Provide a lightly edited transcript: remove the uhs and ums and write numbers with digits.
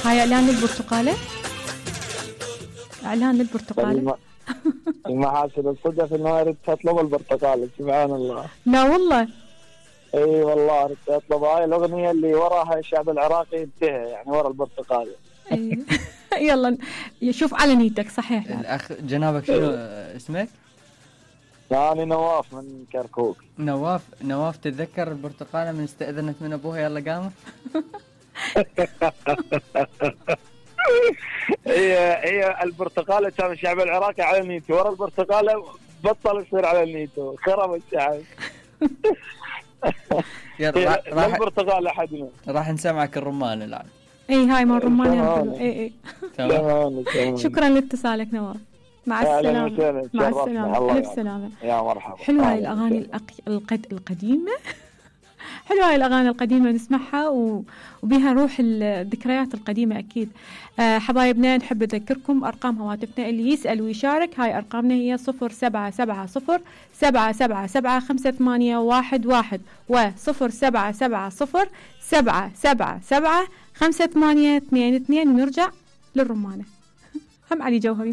هاي اعلان للبرتقالة. اعلان للبرتقالة. المحاسن الصدف انه ردت اطلب البرتقالة. سبحان الله. لا والله. اي والله ردت اطلب هاي الاغنية اللي وراها الشعب العراقي انتهى، يعني ورا البرتقالة. يلا شوف على نيتك. صحيح. الاخ جنابك شنو اسمك؟ أنا نواف من كركوك. نواف تتذكر البرتقالة من استأذنت من أبوها يلا قامت؟ هي البرتقالة كان الشعب العراقي على نيته، ورا البرتقالة بطل يصير على نيته، خرب الشعب. يلا البرتقالة حدنا. راح نسمعك الرمان الآن. اي هاي مال الرمان. اي تمام. شكرا لاتصالك نواف. مع السلامة. مع السلامة. ألف سلامة. يا مرحبا. حلوة هاي الأغاني القديمة. حلوة هاي الأغاني القديمة نسمعها وبها روح الذكريات القديمة أكيد. حبايبنا نحب نذكركم أرقام هواتفنا اللي يسأل ويشارك. هاي أرقامنا هي 0770-777-5811 و0770-777-5822. ونرجع للرمانة. هم علي جوهري.